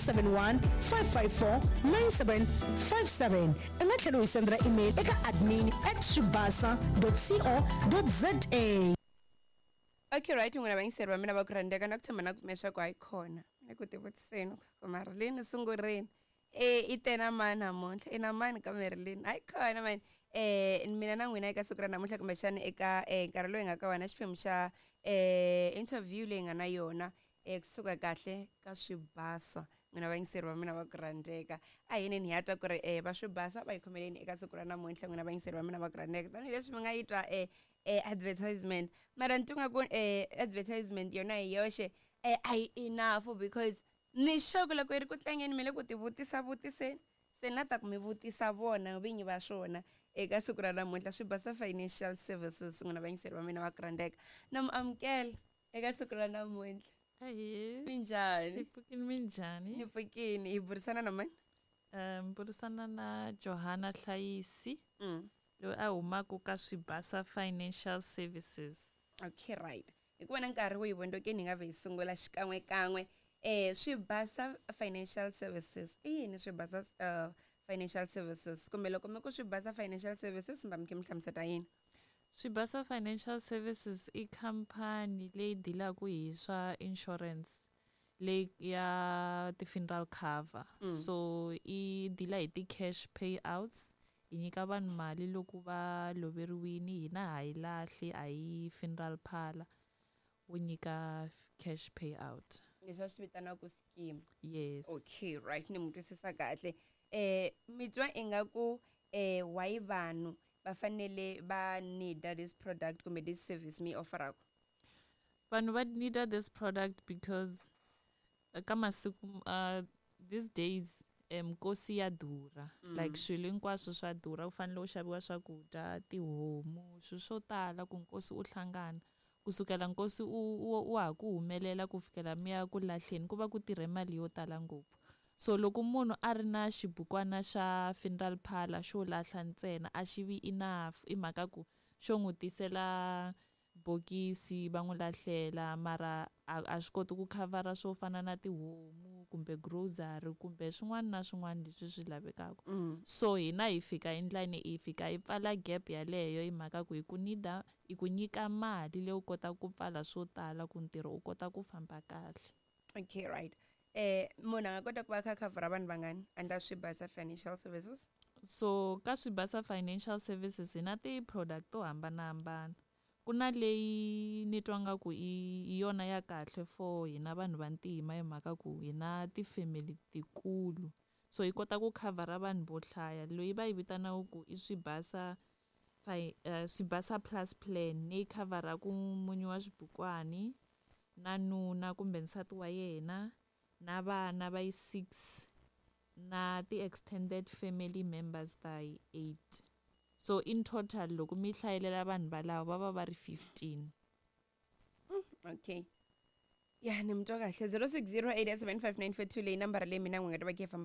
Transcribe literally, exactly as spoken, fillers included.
seven one five five four nine seven five seven i nga tlhela u hi sendela email eka admin at swibasa co za Okay, right, n'wina vayingiseri va mina va ku rhandzeka na ku tshemba na ku pfumela leswaku hayi khona ni ku tivutiseni ku Marilyn sungurini e i te na mani namuntlha i na mani ka Marilyn hayi khona mani eh mina na n'wina eka siku ra namuntlha kumbexana eka eh, nkarhi lowu hi nga ka wona xiphemu xa eh interview leyi nga na yona eh kusuka kahle ka swibasa n'wina vayingiseri va mina va ku rhandzeka a hi yineni hi ya twa ku ri eh va swibasa va hi khomeleni eka siku ra namuntlha n'wina vayingiseri va mina va ku rhandzeka tanihileswi mi nga yi twa eh eh advertisement mara ni twa nga ku eh advertisement yona hi yoxe eh a yi enough because ni sure ku loko yi ri ku tlangeni mi le ku ti vutisa vutiseni se na ta ku mi vutisa vona vinyi va swona eka siku ra namuntlha swibasa financial services n'wina vayingiseri va mina va ku rhandzeka na mi amukela eka siku ra namuntlha Ahee. minjhani Hi pfukini minjhani? ni pfukini hi burisana na mani Um burisana na Johanna Hlayisi mm. loyi a humaka ka Swibasa Financial Services. okay right hi ku vona nkarhi wu hi vondzokeni hi nga vhe hi sungula xikan'we kan'we eh swibasa financial services i yini swibasa uh, financial services kumbe loko mi ku swibasa financial services mi va mi khe mi hlamuseta yini Swibasa Financial Services i khampani leyi dilaka hi swa insurance leyi ya ti-funeral cover. Mm. So i deala hi ti-cash payouts hi nyika vanhu mali loko va loveriwini hina ha yi lahli a hi funeral parlor wo nyika cash payout. leswi va swi vitanaka scheme Yes. okay right ni mi twisisa kahle eh mi twa ingaku eh why vanhu va fanele va need this product kumbe this service mi offeraka vanhu va needa this product because eh, ka masiku uh, these days um nkosi ya durha mm. like swilo hinkwaswo swa durha ku fanele u xaviwa swakudya tihomu swilo swo tala ku nkosi u hlangana kusukela nkosi u u wa ha ku humelela ku fikela mi ya ku lahleni ku va ku tirhe mali yo tala ngopfu so loko munhu a ri na xibukwana xa funeral parlor xo lahla ntsena a xi vi enough i mhaka ku xo n'wi tisela bokisi va n'wi lahlela mara a a swi koti ku khavhara swo fana na tihomu kumbe grocery kumbe swin'wana na swin'wana leswi swi lavekaka mm. so hina hi fika endlani hi fika hi pfala gap yaleyo hi mhaka ku hi ku nida hi ku nyika mali leyi u kotaka ku pfala swo tala ku ntirho u kota ku famba kahle okay right eh munhu a nga kota ku va a kha a khavhara vanhu vangani under swibasa financial services so ka swibasa financial services hi na ti-product to hambanahambana ku na leyi ni twa nga ku i i yona ya kahle for hina vanhu vantima hi mhaka ku hi na ti-family tikulu so hi kota ku khavhara vanhu vo hlaya loyi va yi vitanaka ku i swibasa fi, uh, swibasa plus plan leyi khavharaku munyu wa swibukwani na nuna kumbe nsati wa yena na vana va yi six na ti-extended family members ta yi eight so in total loko mi hlayelela vanhu valavo va va va ri fifteen okay ya ni mi twa kahle zero six zero eight seven five nine four two leyi nambara leyi mina n'wi nga ta va khe hi famba